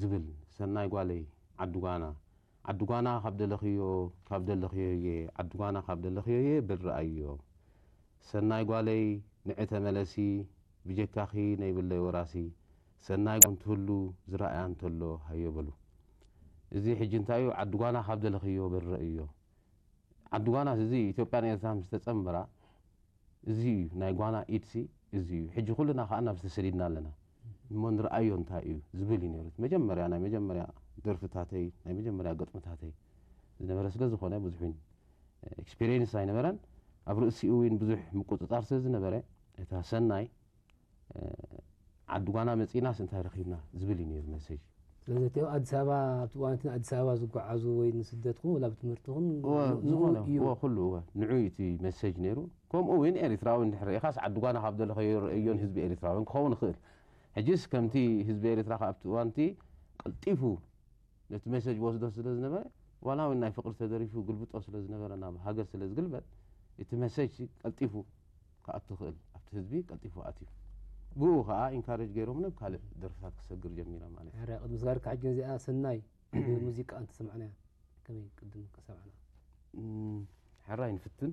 ዝብል ሰናይ ጓለይ ዓዲ ጓና ዓዲ ጓና ካብ ደለኽዮ ካብ ደለኽዮ እየ ዓዲ ጓና ካብ ደለኽዮ እየ በል ረኣዮ ሰናይ ጓለይ ንዕ ተመለሲ ብጀካኺ ነይብለይ ወራሲ ሰናይ ጓ እንትህሉ ዝረኣያ እንተሎ ሃዮ በሉ እዚ ሕጂ እንታይ እዩ ዓዲ ጓና ካብ ደለኽዮ በል ረእዮ ዓዲ ጓናስ እዚ ኢትዮጵያን ኤርትራን ምስ ተጸንበራ እዚ እዩ ናይ ጓና ኢድሲ እዚ እዩ ሕጂ ኩልና ከዓ ናብ ዝተሰዲድና ኣለና እሞ ንርኣዮ እንታይ እዩ ዝብል እዩ ነይሩ መጀመርያ ናይ መጀመርያ ደርፍታተይ ናይ መጀመርያ ገጥምታተይ ዝነበረ ስለ ዝኾነ ብዙሕ ኤክስፒሪየንስ ኣይነበረን ኣብ ርእሲኡ እውን ብዙሕ ምቁፅፃር ስለ ዝነበረ እታ ሰናይ ዓዲ ጓና መፂናስ እንታይ ረኺብና ዝብል እዩ ነይሩ መሴጅ ስለዚ እቲ ኣብ ኣዲስ ኣበባ ኣብቲ እዋን እቲ ኣዲስ ኣበባ ዝጓዓዙ ወይ ንስደት ኹን ወላ ብትምህርቲ ኹን እወ፣ ንኡ ዝኾነ እዩ እወ፣ ኩሉ እወ፣ ንዑ እዩ እቲ መሴጅ ነይሩ ከምኡ እውን ኤሪትራዊ እንድሕር ርኢኻስ ዓዲ ጓና ካብ ደለኸዮ ርእዮን ህዝቢ ኤሪትራውን ክኸውን ይኽእል ሕጅስ ከምቲ ህዝቢ ኤሪትራ ኣብቲ እዋንቲ ቀልጢፉ ነቲ መሴጅ ወስዶ ስለ ዝነበረ ዋላ እውን ናይ ፍቅሪ ተደሪፉ ግልብጦ ስለ ዝነበረ ናብ ሃገር ስለ ዝግልበጥ እቲ መሴጅ ቀልጢፉ ክኣቱ ክእል ኣብቲ ህዝቢ ቀልጢፉ ኣትዩ ብኡ ከዓ ኢንካሬጅ ገይሮም ናብ ካልእ ደርፍታት ክሰግር ጀሚረ ማለት እዩ ሕራይ ቅድሚ ስጋርካ ሕጂ ነዚኣ ሰናይ ሙዚቃ እንተሰማዕናያ ከመይ ቅድም ከሰማዕና እም፣ ሕራይ ንፍትን